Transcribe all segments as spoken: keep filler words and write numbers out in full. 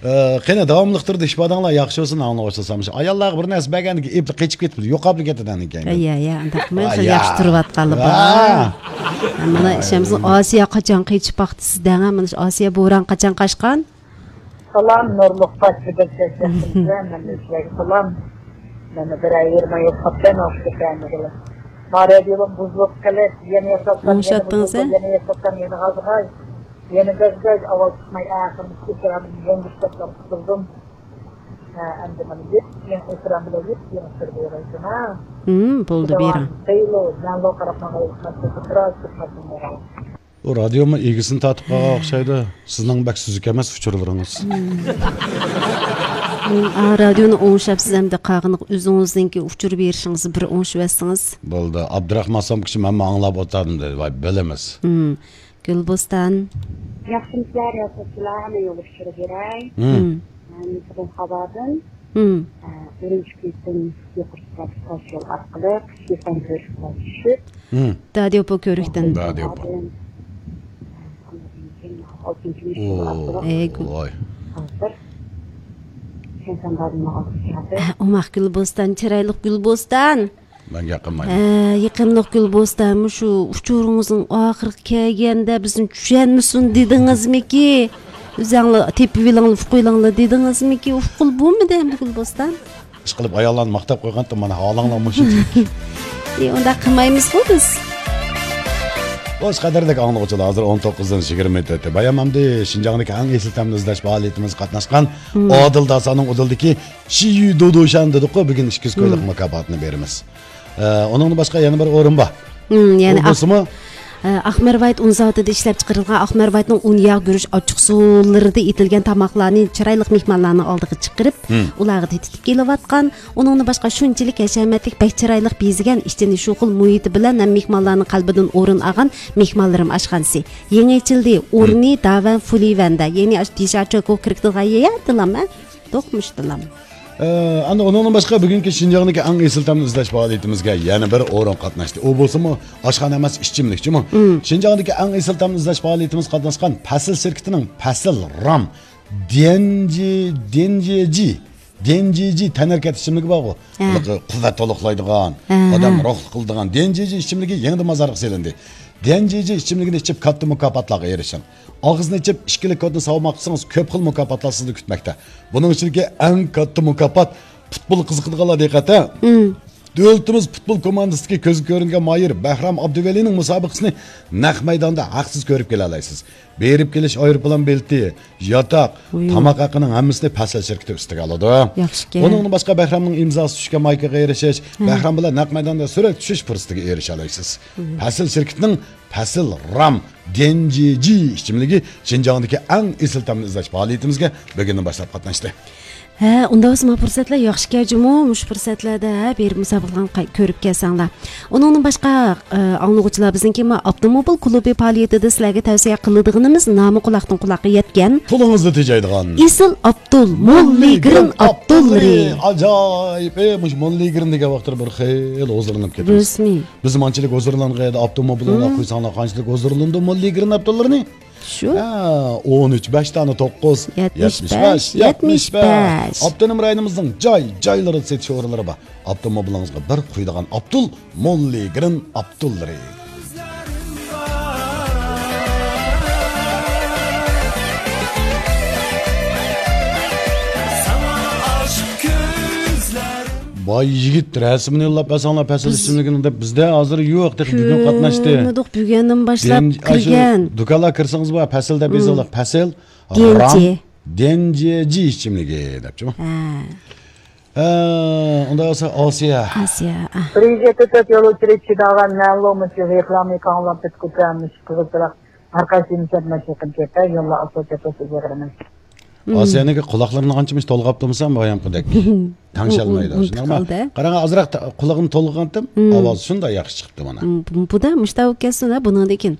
ئە، قېنى، داۋاملىق تۇرىدۇ، ئىپادەڭلار ياخشى بولسۇن، ئاڭلىغۇچىلار. ئاياللارغا بىر نەرسە بەرگەندىكىن ئېپلا قېچىپ كېتىپتۇ، يوقاپلا كېتىدىكەن. ئەييە، ئەييە، ئۇنداق قىلمايمىز، ياخشى تۇرۇۋاتقانلار بار. مانا ئىشەمسىز، ئاسىيا قاچان قېچىپ باقتى سىزدەڭ؟ مانا شۇ ئاسىيا بوران قاچان قاچقان؟ سالام، نۇرلۇق پاكىت بەكرەك ياخشىمىز. مەن سىلەرگە سالام. مانا بىر ئاي يېرىم ئاي بولۇپ قاپتۇ، ناخشا كەلمىگىلى. ما رادىيوم بۇزۇلۇپ قېلىپ، يەنە ياساتسام، يەنە ئوڭشاتتىڭىز، بۇزۇلدى، ھە؟ يەنە ياساتسام، يەنە غازغاي. يەنە بەزگەج ئاۋاز چىقماي، ئاخىرىدا ئېكراننى يەڭگۈشلەپ قۇتۇلدۇم. ھە، ئەمدى مانا يېپيېڭى ئېكران بىلەن يېپيېڭى سۈرگە يېرەيسەن، ھە؟ ھىم، بولدى، بېرىڭ. خېلى مەنلا قاراپ ماڭايلى، بىراز چىقمايسەن، بېرىڭ. بۇ رادىيومۇ ئىگىسىنى تارتىپ قالغان ئوخشايدۇ. سىزنىڭ بەك سۈزۈك ئەمەس ئۇچۇرلىرىڭىز. ھىم. ھىم، ئا، رادىيونى ئوڭشاپ، سىز ئەمدى قالغىنىغا ئۆزىڭىزنىڭكى ئۇچۇر بېرىشىڭىزنى بىر ئوڭشىۋەتسىڭىز. بولدى. ئابدۇراخمان سومكىچى، مەنمۇ ئاڭلاپ ئولتۇردۇم دېدى. ۋاي، بىلىمىز. ھىم. گۈلبوستان. ياخشىمۇسىلەر، ياخشىمۇسىلەر، مەن يول ئۇچۇرى بېرەي. ھىم. مەن بۈگۈن خاۋادىن، ھىم. ئە، ئۈرۈمچى كېسىم يۇقىرى سۈپەتلىك تاش يول ئارقىلىق شىفەن كۆرۈشكە چۈشۈپ، ھىم. دادىيوپو كۆۋرۈكتىن. دادىيوپو. خاۋادىن، ئالتىنچى مۇشۇ يول ئارقىلىق، ئەي، گۈل. ۋاي. ھازىر شەنشەنبادىن ئالدىغا كەلدى. ئە، ئوماق گۈلبوستان، چىرايلىق گۈلبوستان. مەن گەپ قىلمايمەن. ھە، يېقىملىق گۈلبوستان، مۇشۇ ئۇچۇرىڭىزنىڭ ئاخىرىغا كەلگەندە بىزنى چۈشەنمىسۇن دېدىڭىزمىكى؟ ئۆزەڭلار تېپىۋېلىڭلار، ئۇقۇۋېلىڭلار دېدىڭىزمىكى؟ ئۇققىلى بولمىدى ئەمدى گۈلبوستان. ئىشقىلىپ ئاياللارنى ماختاپ قويغانتىم، مانا ھالىڭلار مۇشۇ. ئى، ئۇنداق قىلمايمىزغۇ بىز. خوش، قەدىرلىك ئاڭلىغۇچىلار، ھازىر ئون توققۇزدىن يىگىرمە مىنۇت ئۆتتى. بايام ئەمدى شىنجاڭدىكى ئەڭ ئېسىل تەمنى ئىزدەش پائالىيىتىمىزگە قاتناشقان، ھىم. ئادىل داسانىڭ ئۇدۇلىدىكى شىيۈ دۇدۇشەن دېدۇققۇ، بۈگۈن ئىككى يۈز كويلۇق، ھىم. مۇكاپاتىنى بېرىمىز. ئە، ئۇنىڭدىن باشقا يەنە بىر ئورۇن بار. ھىم، يەنى ئۇ ئاق-، بولسىمۇ؟ ئە، ئاقمەر ۋايىت ئۇن زاۋۇتىدا ئىشلەپ چىقىرىلغان ئاقمەر ۋايىتنىڭ ئۇن ياغ گۈرۈچ ئاچچىقسۇلىرىدا ئېتىلگەن تاماقلارنى چىرايلىق مېھمانلارنىڭ ئالدىغا چىقىرىپ، ھىم. ئۇلارغا تېتىتىپ كېلىۋاتقان. ئۇنىڭدىن باشقا شۇنچىلىك ھەشەمەتلىك، بەك چىرايلىق بېزىگەن، ئىچىنى شۇ خىل مۇھىتى بىلەن ھەم مېھمانلارنىڭ قەلبىدىن ئورۇن ئالغان مېھمانلىرىم ئاشخانىسى يېڭى ئېچىلدى. ھىم. ئورنى داۋەن فۇلىۋەندە، يەنى ئاشۇ دىشاچوكو كىرىكتىغان يەردىلام، ھە؟ دوقمۇشتىلام. ئە، ئەنە ئۇنىڭدىن باشقا بۈگۈنكى شىنجاڭدىكى ئەڭ ئېسىل تەمنى ئىزدەش پائالىيىتىمىزگە يەنە بىر ئورۇن قاتناشتى. ئۇ بولسىمۇ ئاشخانا ئەمەس، ئىچىملىك جۇمۇ. مم. شىنجاڭدىكى ئەڭ ئېسىل تەمنى ئىزدەش پائالىيىتىمىزگە قاتناشقان پەسىل شىركىتىنىڭ پەسىل رام ديەنجى، ديەنجيېجى، ديەنجيېجى تەنھەرىكەت ئىچىملىكى بارغۇ. ھە. ھېلىقى قۇۋۋەت تولۇقلايدىغان، ھە، ئادەم ھە. روھلۇق قىلىدىغان ديەنجيېجى ئىچىملىكى يېڭىدىن بازارغا سېلىندى. ديەنجيېجى ئىچىملىكىنى ئىچىپ، كاتتا مۇكاپاتلارغا ئېرىشىڭ. ئاغزىنى ئېچىپ، ئىككىلىك كودنى سالماق قىلسىڭىز، كۆپ خىل مۇكاپاتلار سىزنى كۈتمەكتە. بۇنىڭ ئىچىدىكى ئەڭ كاتتا مۇكاپات پۇتبول قىزىقىدىغانلار دىققەت، ھە؟ مم. دۆلىتىمىز پۇتبول كوماندىسىدىكى كۆزگە كۆرۈنگەن ماھىر بەھرام ئابدۇۋەلىنىڭ مۇسابىقىسىنى نەق مەيداندا ھەقسىز كۆرۈپ كېلەلەيسىز. بېرىپ كېلىش ئايروپىلان بېلىتى، ياتاق، ۋۇي. تاماق ھەققىنىڭ ھەممىسىنى پەسىل شىركىتى ئۈستىگە ئالىدۇ. ياخشىكەن. ئۇنىڭدىن باشقا بەھرامنىڭ ئىمزاسى چۈشكەن مايكىغا ئېرىشىش، ھە. بەھرام بىلەن نەق مەيداندا سۈرەتكە چۈشۈش پۇرسىتىگە ئېرىشەلەيسىز. ۋۇي. پەسىل شىركىتىنىڭ پەسىل رام ديەنجيېجى ئىچىملىكى شىنجاڭدىكى ئەڭ ئېسىل تەمنى ئىزدەش پائالىيىتىمىزگە بۈگۈندىن باشلاپ قاتناشتى. ھە، ئۇنداق بولسا ما پۇرسەتلەر ياخشىكەن جۇمۇ، مۇشۇ پۇرسەتلەردە، ھە، بېرىپ مۇسابىقىلەرنى قاي-، كۆرۈپ كەلسەڭلار. ئۇنىڭدىن باشقا، ئە، ئاڭلىغۇچىلار، بىزنىڭكى ما ئاپتوموبىل كۇلۇبى پائالىيىتىدە سىلەرگە تەۋسىيە قىلىدىغىنىمىز نامى قۇلاقتىن قۇلاققا يەتكەن، پۇلىڭىزنى تېجەيدىغان ئېسىل ئاپتول، موللىگرىن ئاپتوللىرى. ئاپتوللىرى. ئاجايىپ. ئەي، مۇشۇ موللىگرىن دېگەن ۋاقىتتا بىر خېلى ھۇزۇرلىنىپ كېتىمىز. رەسمىي. بىز مانچىلىك ھۇزۇرلانغان ئاپتوموبىلىڭلار مم. قويساڭلار، قانچىلىك ھۇزۇرلىنىدۇ موللىگرىن ئاپتوللىرىنى؟ شۇ. ھە، ئون ئۈچ، بەش دانە توققۇز. يەتمىش بەش، يەتمىش بەش، يەتمىش بەش. يەتمىش بەش. ئاپتونوم رايونىمىزنىڭ جاي-جايلىرىدا سېتىش ئورۇنلىرى بار. ئاپتوموبىلىڭىزغا بىر قۇيىدىغان ئاپتول، موللىگرىن ئاپتوللىرى. باي يىگىت، رەسىمىنى يوللاپ بەرسەڭلار، پەسىل ئىچىملىكىنىڭ دەپ، بىزدە ھازىر يوق، تېخى بۈگۈن قاتناشتى. كۆرمىدۇق، بۈگۈندىن باشلاپ دېن-، ئاشۇ كىرگەن. دۇكانلارغا كىرسىڭىز بار، پەسىل دەپ يېزىڭلار، پەسىل. دىيەنجى. رام، دىيەنجى ئىچىملىكى دەپچۇ. ھە. ھە، ئۇنداق بولسا ئاسىيە. ئاسىيە، ئا. بىر يۈز يەتتە تۆت يول ئۇچۇرى چىداغان مەلۇم ئۈچۈن رېكلامىنى كاڭلاپ بىتكۈچە مۇشۇ قىزىل چىراغ ھەرقايسى مىشەت مەشىقىم كەتتى، يوللار ئاسفالت چېپىلسىز يىغىرىمەن. مم. ئاسىيەنىڭكى قۇلاقلىرىنى ئانچە مۇشۇ تولغاپتىمىسا، بايامقىدەك تەڭشەلمەيدۇ. ئۇ-، ئۇ-، شۇنداقمۇ؟ ئۇنتۇپ قالدى. قاراڭ، ئازراق تا-، قۇلىقىنى تولغىغانتىم، مم. ئاۋازى شۇنداق ياخشى چىقىپتۇ مانا. مم، بۇ-، بۇدا مۇشتاق بولۇپ كەتسۇن ھە، بۇنىڭدىن كېيىن.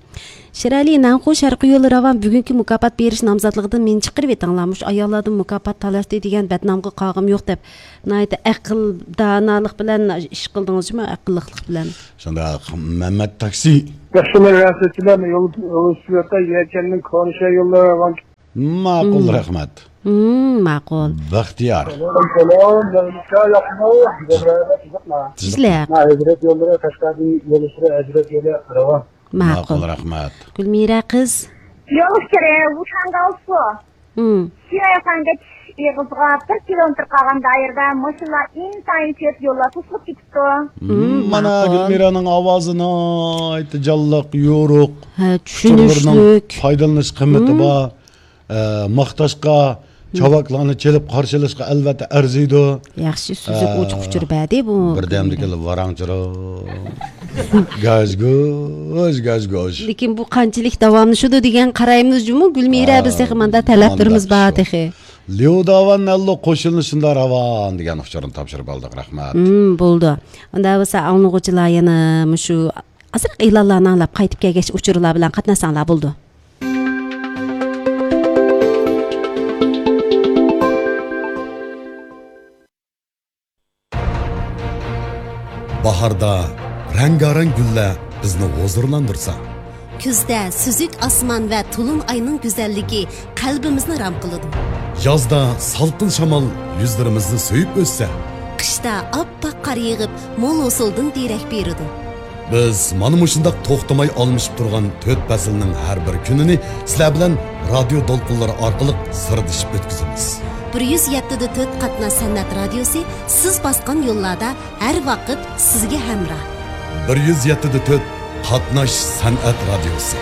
شىرئەلى نەنخۇ شەرقىي يولى راۋان بۈگۈنكى مۇكاپات بېرىش نامزاتلىقىدىن مېنى چىقىرىۋېتىڭلار. مۇشۇ ئاياللاردىن مۇكاپات تالاشتى دېگەن بەتنامغا قالغۇم يوق دەپ، ناھايىتى ئەقىل دانالىق بىلەن ئىش قىلدىڭىز جۇمۇ، ئەقىللىقلىق بىلەن. شۇنداق، مەمەت تاكسى. ياخشىمۇ رەھمەتچىلەر، يول، يول سۈرەتتە يەكەننىڭ كونىشە يوللىرى راۋان. ماقۇل، مم. رەھمەت. مم، ماقۇل. بەختىيار. سالام، سالام، مەلىكە ياقمۇ؟ زەھرەدە قىزىقما؟ تىزلىق. ھەزرەت يوللىرى، قەشقەردىن يوللىشىدۇ، ھەزرەت يولى راۋان. ماقۇل. ماقۇل، رەھمەت. گۈلمىرە قىز. يول ئۇچۇرى، ۋۇشاڭگاۋسۇ. مم. شىئەيخەنگە چۈشۈش ئېغىزىغا بىر كىلومېتىر قالغان دائىرىدە ماشىنىلار ئىنتايىن كۆپ، يوللار توسۇلۇپ كېتىپتۇ. مم، مانا ماقۇل. گۈلمىرانىڭ ئاۋازى ناھايىتى جانلىق، يورۇق. ھە، ئۇچۇرلىرىنىڭ چۈشىنىشلىك. پايدىلىنىش قىممىتى مم. بار. ئە، ماختاشقا، مم. چاۋاكلارنى چېلىپ قارشىلاشقا ئەلۋەتتە ئەرزىيدۇ. ياخشى سۈزۈك ئە، ئوچۇق ئۇچۇر بەردى بۇ بىردەمدىكىلا كۈندە. ۋاراڭ-چۇرۇڭ. گاژ-گۇژ، گاژ-گۇژ. لېكىن بۇ قانچىلىك داۋاملىشىدۇ دېگەن قارايمىز جۇمۇ، گۈلمىرە، ھە، بىز تېخى ماندا تەلەپلىرىمىز مانداق بار شۇ. تېخى. ليۇ داۋان نەنلۇ قوشۇنى شۇندا راۋان دېگەن ئۇچۇرنى تاپشۇرۇپ ئالدۇق، رەھمەت. مم، بولدى. ئۇندا بولسا ئاڭلىغۇچىلار يەنە مۇشۇ ئازراق ئېلانلارنى ئاڭلاپ قايتىپ كەلگەچ ئۇچۇرلار بىلەن قاتناشساڭلار بولدى. باھاردا رەڭگارەڭ گۈللەر بىزنى ھۇزۇرلاندۇرسا، كۈزدە سۈزۈك ئاسمان ۋە تولۇن ئاينىڭ گۈزەللىكى قەلبىمىزنى رام قىلىدۇ. يازدا سالقىن شامال يۈزلىرىمىزنى سۆيۈپ ئۆتسە، قىشتا ئاپئاق قار يېغىپ، مول ھوسۇلدىن دېرەك بېرىدۇ. بىز مانا مۇشۇنداق توختىماي ئالمىشىپ تۇرغان تۆت پەسىلنىڭ ھەر بىر كۈنىنى سىلەر بىلەن رادىيو دولقۇنلىرى ئارقىلىق سىردىشىپ ئۆتكۈزىمىز. بىر يۈز يەتتە دە تۆت قاتناش سەنئەت رادىيوسى سىز باسقان يوللاردا ھەر ۋاقىت سىزگە ھەمراھ. بىر يۈز يەتتە دە تۆت قاتناش سەنئەت رادىيوسى.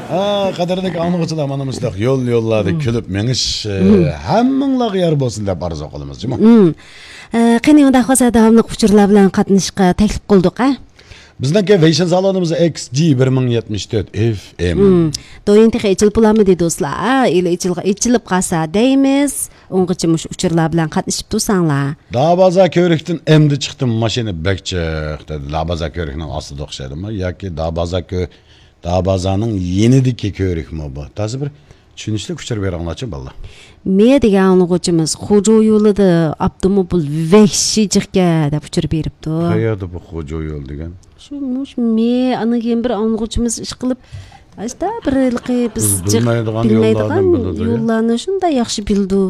ھە، قەدىرلىك ئاڭلىغۇچىلار، مانا مۇشۇنداق يول-يوللاردا مم. كۈلۈپ مېڭىش، ئە، مم. ھەممىڭلارغا يار بولسۇن دەپ ئارزۇ قىلىمىز، جۇمۇ. مم. ئە، قېنى، ئۇنداق بولسا داۋاملىق ئۇچۇرلار بىلەن قاتنىشىشقا تەكلىپ قىلدۇق، ھە؟ بىزنىڭكى ۋېيشىن سالونىمىز ئېكس جى بىر مىڭ يەتمىش تۆت ئېف ئېم. مم. دويىن تېخى ئېچىلىپ بولامدۇ دوستلار؟ ھە، ئېلى ئېچىلغا-، ئېچىلىپ قالسا دەيمىز. ئۇنغىچە مۇشۇ ئۇچۇرلار بىلەن قاتنىشىپ تۇرساڭلار. دابازا كۆۋرۈكتىن ئەمدى چىقتىم، ماشىنا بەك جىق، دېدى. دابازا كۆۋرۈكنىڭ ئاستىدا ئوخشايدۇما؟ ياكى دابازا كۆ-، دابازانىڭ يېنىدىكى كۆۋرۈكمۇ بۇ؟ تازا بىر چۈشىنىشلىك ئۇچۇر بېرىڭلارچۇ، بالىلار. مې دېگەن ئاڭلىغۇچىمىز خوجو يولىدا ئاپتوموبىل ۋەھشىي جىقكەن دەپ ئۇچۇر بېرىپتۇ. قەيەردە بۇ خوجو يول دېگەن؟ شۇ، مۇشۇ مې، ئاندىن كېيىن بىر ئاڭلىغۇچىمىز ئىشقىلىپ، ئاشتا بىر ھېلىقى بىز بىز جىق بىلمەيدىغان بىلمەيدىغان يوللاردىن بىلىدۇ يا؟ يوللارنى شۇنداق ياخشى بىلىدۇ.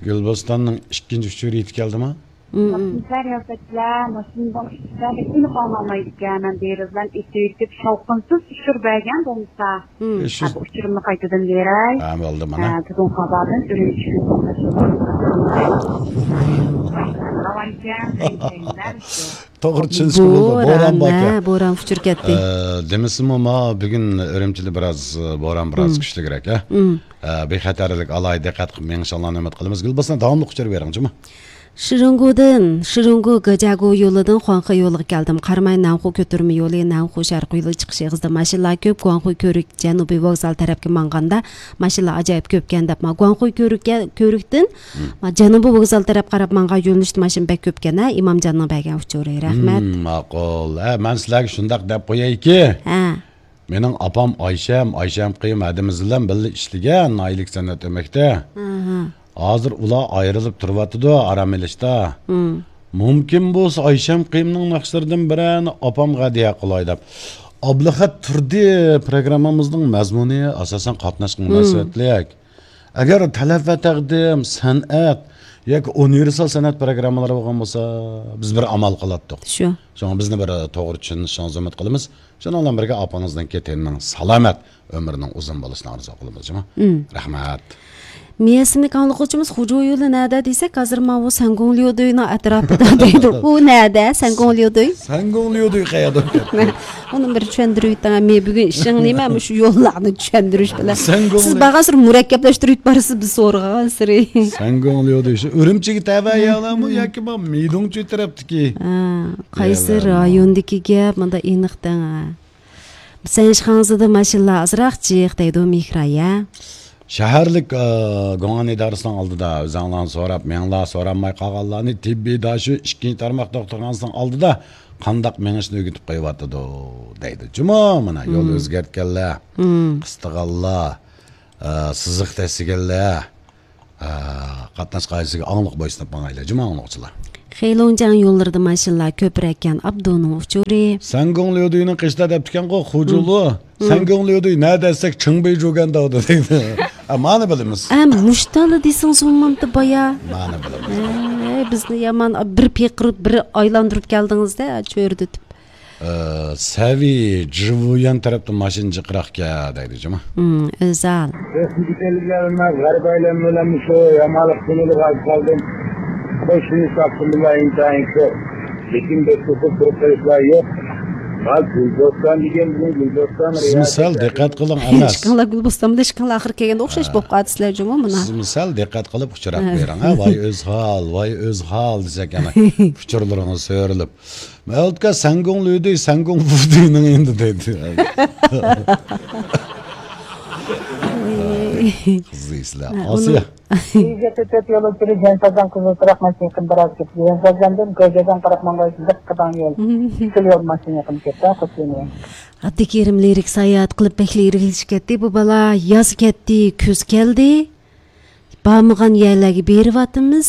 گۈلبوستاننىڭ ئىككىنچى ئۇچۇرى يېتىپ كەلدىما؟ مم، مم. ماشىنا رىياسەتچىلەر، ماشىنىدىن ئىشلەپ ئېلىپ ئالمايدىكەن. مەن دېرىزىدىن ئېتىۋېتىپ، شاۋقۇنسىز ئۇچۇر بەرگەن بولمىسا، مم. ئېشىز. ھە، بۇ ئۇچۇرۇمنى قايتىدىن بېرەي. ھە، بولدى مانا. ھە، بۈگۈن قازادىن ئۈرۈمچىگە توغرا چۈشىنىشكە بولدى. بولدى. بوران بوران بار ئىكەن. ھە، بوران ئۇچۇر كەتتى. ئە، دېمىسىمۇ، ما بۈگۈن ئۈرۈمچىدە بىراز، بوران بىراز مم. كۈچلۈكرەك، ھە؟ مم. ئە، بىخەتەرلىك، ئالاھىدە دىققەت قىلىپ مېڭىشىڭلارنى ئۈمىد قىلىمىز. گۈلبوستان، داۋاملىق ئۇچۇر بېرىڭ، جۇمۇ. شىرىڭگۇدىن، شىرىڭگۇ گېجاگۇ يولىدىن خۇاڭخې يولىغا كەلدىم. قاراماي نەنخۇ كۆتۈرمە يولى، نەنخۇ شەرقىي يولى چىقىش ئېغىزىدا ماشىنىلار كۆپ. گۇاڭخۇي كۆۋرۈك جەنۇبىي ۋوگزال تەرەپكە ماڭغاندا ماشىنىلار ئاجايىپ كۆپكەن دەپ، ما گۇاڭخۇي كۆۋرۈككە، كۆۋرۈكتىن، مم. ما جەنۇبىي ۋوگزال تەرەپ قاراپ ماڭغان يۆنىلىشتە ماشىنا بەك كۆپكەن، ھە، ئىمامجاننىڭ بەرگەن ئۇچۇرى. رەھمەت. مم، ماقۇل. ھە، مەن سىلەرگە شۇنداق دەپ قويايكى. ھە. مېنىڭ ئاپام ئايشەم، ئايشەم قېيۇم ھەدىمىز بىلەن بىللە ئىشلىگەن، ناھىيىلىك سەنئەت ئۆمەكتە. ئاھا. ھازىر ئۇلار ئايرىلىپ تۇرۇۋاتىدۇ، ئارام ئېلىشتا. مم. مۇمكىن بولسا ئايشەم قېيۇمنىڭ ناخشىلىرىدىن بىرەرنى ئاپامغا ھەدىيە قىلاي دەپ. ئابلىخەت تۇردى پروگراممىمىزنىڭ مەزمۇنى ئاساسەن قاتناشقا مم. مۇناسىۋەتلىك. ئەگەر تەلەپ ۋە تەقدىم، سەنئەت ياكى ئۇنىۋېرسال سەنئەت پروگراممىلىرى بولغان بولسا، بىز بىر ئامال قىلاتتۇق. شۇ. شۇڭا بىزنى بىر توغرا چۈشىنىشىڭىزنى ئۈمىد قىلىمىز. شۇنىڭ بىلەن بىرگە ئاپىڭىزنىڭكى تېنىنىڭ سالامەت، ئۆمرىنىڭ ئۇزۇن بولۇشىنى ئارزۇ قىلىمىز، جۇمۇ. مم. رەھمەت. مىيەسىنىڭ ئاڭلىغۇچىمىز خوجو يولى نەدە دېسەك، ھازىر ماۋۇ سەنگۇڭليۇدۇينىڭ ئەتراپىدا دەيدۇ. ئۇ نەدە؟ سەنگۇڭليۇدۇي؟ سەنگۇڭليۇدۇي قەيەردە؟ ئۇنى بىر چۈشەندۈرۈۋېتىڭ. مەن بۈگۈن ئىشىڭ نېمە؟ مۇشۇ يوللارنى چۈشەندۈرۈش بىلەن. سەنگۇڭليۇ- سىز بارغانسېرى مۇرەككەپلەشتۈرۈۋېتىپ بارىسىز، بىز سورىغانسېرى. سەنگۇڭليۇدۇي شۇ ئۈرۈمچىگە تەۋە يەرلەرمۇ ياكى ما مىدۇڭچۇ تەرەپتىكى ھە، قايسى يەرلەرمۇ؟ رايوندىكى گەپ، مۇندا ئېنىق دەڭ، ھە. سەنشىخاڭزىدا ماشىنىلار ئازراق جىق دەيدۇ مېھراي، ھە. شەھەرلىك، ئە، گۇڭئەن ئىدارىسىنىڭ ئالدىدا ئۆزۈڭلارنى سوراپ، مېڭىڭلار، سورالماي قالغانلارنى تېببىي داشۆ ئىككىنچى تارماق دوختۇرخانىسىنىڭ ئالدىدا قانداق مېڭىشنى ئۆگىتىپ قويۇۋاتىدۇ دەيدۇ. جۇمۇ، مانا، يول مم. ئۆزگەرتكەنلەر، مم. قىستىغانلار، ئە، سىزىق تەسلىگەنلەر، ئە، قاتناش قائىدىسىگە ئاڭلىق بويسۇنۇپ ماڭايلى، جۇمۇ ئاڭلىغۇچىلار. خېلوڭجياڭ يوللىرىدا ماشىنىلار كۆپرەككەن ئابدۇنىڭ ئۇچۇرى. سەنگۇڭ ليۇدۇينىڭ قېشىدا دەپتىكەنغۇ، خۇجۇلۇ. مم. سەنگۇڭ ليۇدۇي نەدە دېسەك، چىڭبېيجۇگەن دەۋدۇ دەيدۇ. ئە، مانا بىلىمىز. ئە، مۇشتالا دېسىڭىز بولمامتى بايا. مانا بىلىمىز. ئە، بىزنى يامان بىر پېقىرىپ، بىر ئايلاندۇرۇپ كەلدىڭىز-دە، چۆرىدىتىپ. ئە، سەۋىي جىۋۇيۈەن تەرەپتىن ماشىنا جىقراقكەن دەيدۇ جۇما. مم، ئۆزەل. رەسمىي كېلىپ غەرب ئايلانما بىلەن شۇ يامانلىق تۈنىدە قالدىم. خوشۇنى تاپتىم بىلەن ئىنتايىن كۆپ. لېكىن بەك توسۇپ تۇرۇپ قېلىشلار يوق. ھا، گۈلدوستان دېگەن بۇ گۈلدوستان. سىز مىسال دىققەت قىلىڭ، ئەمەس. ئىشقىڭلار گۈلبوستان بىلەن ئىشقىڭلار ئاخىر كەلگەندە ئوخشاش ھە. بولۇپ قالىدۇ سىلەر جۇمۇ مانا. سىز مىسال دىققەت قىلىپ ئۇچراق ھە. بېرىڭ، ھە، ۋاي ئۆزھال، ۋاي ئۆزھال دېسەك، ئەنە ئۇچۇرلىرىڭىز سۆرىلىپ. مەلۇتكا سەنگۇڭ لۈدۈي، سەنگۇڭ فۇدۈينىڭ ئېنىدا دەيدۇ. قىزىق ئىشلار. ھە، ئاسىيا. ئۇنىڭ ئىگە تۆت يولۇچىلىرى جەنسازدان قىزىل تۇراق ماشىنا يېقىن بىراز كەتتى. جەنسازدىن گوجادان قاراپ ماڭغان لىق قىداڭ يول. شۇ يول ماشىنا يېقىن كەتتى، قوشۇلمىغان. ئابدۇكېرىم لىرىك ساياھەت قىلىپ بەك لىرىكلىشىپ كەتتى. بۇ بالا ياز كەتتى، كۈز كەلدى. بارمىغان يەرلەرگە بېرىۋاتىمىز.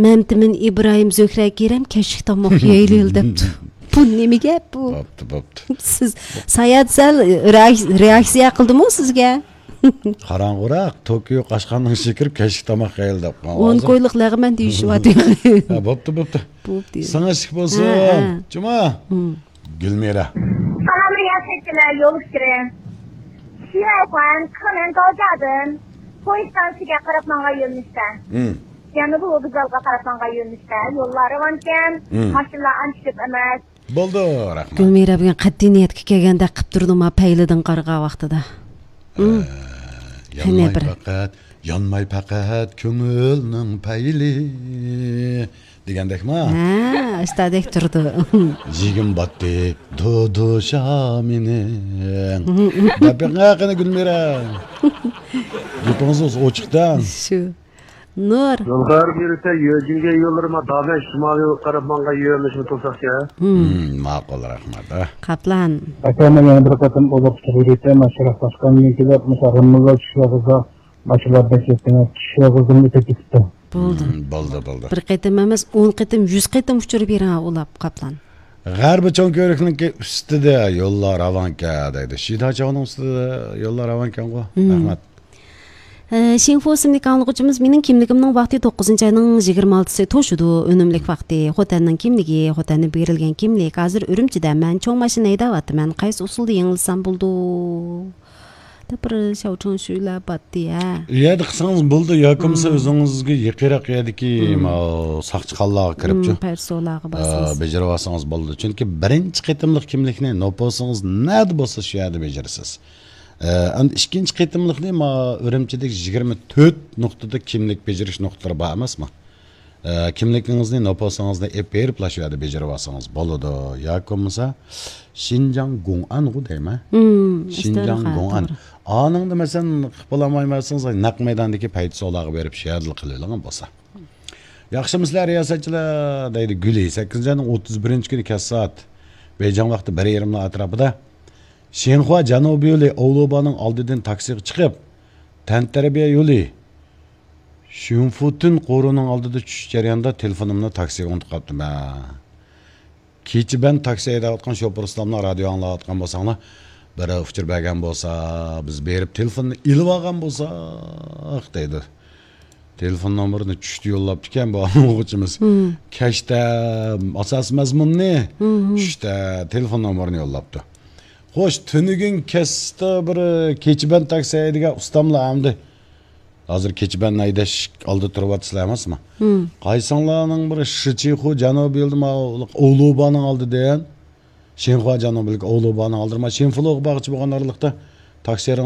مەمتىمىن ئىبراھىم زۆھرە كېرەم كەچلىك تاماق يەيلى دەپتۇ. بۇ نېمە گەپ بۇ؟ بوپتۇ، بوپتۇ. سىز ساياھەت سەل رېئاك-، رېئاكسىيە قىلدىمۇ سىزگە؟ قاراڭغۇراق، توكيو قاشقاننىڭ ئىچىگە كىرىپ كەچلىك تاماق يەيلى دەپ قالغان. ئون كويلۇق لەغمەن دېيىشىۋاتىدۇ. ھە، بوپتۇ، بوپتۇ. بوپتۇ. ساڭا ئىشىك بولسۇن. ھە، ھە. جۇما. ھىم. گۈلمىرا. سالام رىياسەتچىلەر، يول ئۇچۇرى. شىئەيخۇەن، كېنەن گاۋجيادىن پويىز ستانسىسىگە قاراپ ماڭغان يۆنىلىشتە. ھىم. جەنۇبىي ۋوگزالغا قاراپ ماڭغان يۆنىلىشتە. يوللار راۋانكەن، ھىم. ماشىنىلار ئانچە كۆپ ئەمەس. بولدى، رەھمەت. گۈلمىرا بۈگۈن قەتئىي نىيەتكە كەلگەندەك قىپ تۇردۇما پەيلىدىن قارىغان ۋاقتىدا. ھىم. ئە، قېنى يانماي بىر. پەقەت، يانماي پەقەت كۆڭۈلنىڭ پەيلى. دېگەندەكما؟ ھە، ئۇستادەك تۇرىدۇ. يېگىم باتتى، دۇدۇ شامىنىڭ. دەپ بېقىڭ، قېنى گۈلمىرە. گېپىڭىز ئوچۇق-دە. شۇ. نۇر. يولغار بېرىسە يۆجىنگەن يوللىرىما دامەن شىمالىي قاراپ ماڭغان يۆنىلىشنى تۇرساقچە. ھىم. ھىم، ماقۇل، رەھمەت. قاپلان. ئاكا، مەن يەنە بىر قېتىم ئۇلۇغ چىغىرىۋېتەي، مەن شەرقلاشقاندىن كېلىپ، مۇشۇ رىممىلار چۈشۈۋالغۇزا، ماشىنىلار بەك يەتتىڭە، چۈشۈۋالغۇزدىمۇ ئۆتۈپ كېتىپتۇ. بولدى. ھىم، بولدى، بولدى. بىر قېتىم ئەمەس، ئون قېتىم، يۈز قېتىم ئۇچۇر بېرىڭ ئۇلاپ، قاپلان. غەربىي چوڭ كۆۋرۈكنىڭكى ئۈستىدە يوللار راۋانكەن دەيدۇ. شىداچاۋنىڭ ئۈستىدە يوللار راۋانكەنغۇ. ھىم. رەھمەت. ئە، شىڭفۇ ئىسىملىك ئاڭلىغۇچىمىز، مېنىڭ كىملىكىمنىڭ ۋاقتى توققۇزىنچى ئاينىڭ يىگىرمە ئالتىسى توشىدۇ. ئۈنۈملۈك ۋاقتى. خوتەننىڭ كىملىكى، خوتەندىن بېرىلگەن كىملىك. ھازىر ئۈرۈمچىدە مەن چوڭ ماشىنا ھەيدەۋاتىمەن. قايسى ئۇسۇلدا يېڭىلسام بولىدۇ؟ دەپ بىر شاۋچۇڭشۈيلەر باتتى، ھە. ئۇ يەردە قىلسىڭىز بولىدۇ، ياكى بولمىسا ھىم. ئۆزىڭىزگە يېقىنراق يەردىكى ھىم. ماۋۇ ساقچىخانىلارغا كىرىپچۇ. ھىم، پەرسولاغا ئا، باسىمىز. بېجىرىۋالسىڭىز بولىدۇ. چۈنكى بىرىنچى قېتىملىق كىملىكنى نوپۇسىڭىز نەدە بولسا شۇ يەردە بېجىرىسىز. ئە، ئەمدى ئىككىنچى قېتىملىقنى ما ئۈرۈمچىدىكى يىگىرمە تۆت نۇقتىدا كىملىك بېجىرىش نۇقتىلىرى بار ئەمەسمۇ؟ ئە، كىملىكىڭىزنى، نوپۇسىڭىزنى ئېلىپ بېرىپلا شۇ يەردە بېجىرىۋالسىڭىز بولىدۇ. ياكى بولمىسا شىنجاڭ گوڭئەنغۇ دەيمەن. ھىم، شىنجاڭ ئىستانغا، گوڭئەن. توغرا. ئانىڭدا مەسىلەن، قىلىپ بولالمايمەنسىڭىز، نەق مەيداندىكى پەيتىسولاغا بېرىپ شۇ يەردىلا قىلىۋېلىڭ بولسا. ياخشىمۇسىلەر رىياسەتچىلەر؟ دەيدۇ گۈلى. سەككىزىنچى ئاينىڭ ئوتتۇز بىرىنچى كۈنى كەچ سائەت بېيجىڭ ۋاقتى بىر يېرىملا ئەتراپىدا شىنخۇا جەنۇبىي يولى ئاۋلۇبانىڭ ئالدىدىن تاكسىغا چىقىپ، تەنتەربىيە يولى شۈنفۇتۈن قورۇنىڭ ئالدىدا چۈشۈش جەريانىدا تېلېفونۇمنى تاكسىغا ئۇنتۇپ قاپتىمەن. كېچە بەن تاكسى ھەيدەۋاتقان شوپۇر ئۇستاملار رادىيو ئاڭلاۋاتقان بولساڭلار، بىرەر ئۇچۇر بەرگەن بولسا، بىز بېرىپ تېلېفوننى ئېلىۋالغان بولساق، دەيدۇ. تېلېفون نومۇرىنى چۈشتە يوللاپتىكەن بۇ ئاڭلىغۇچىمىز. ھىم. كەچتە ئاساسىي مەزمۇننى، ھىم، ھىم. چۈشتە تېلېفون نومۇرىنى يوللاپتۇ. خوش، تۈنۈگۈن كەچتە بىر كېچە بەن تاكسى ھەيدىگەن ئۇستاملار ئەمدى ھازىر كېچە بەن ھەيدەش ئالدىدا تۇرۇۋاتىسىلەر ئەمەسمۇ؟ ھىم. قايسىڭلارنىڭ بىر شىچىخۇ جەنۇبىي يولىدا ماۋۇ ئاۋلۇبانىڭ ئالدىدىن، شىنخۇا جەنۇبىيلىك ئاۋلۇبانىڭ ئالدىدا، ما شىنفۇلۇغا بارغۇچى بولغان ئارىلىقتا تاكسىرىڭ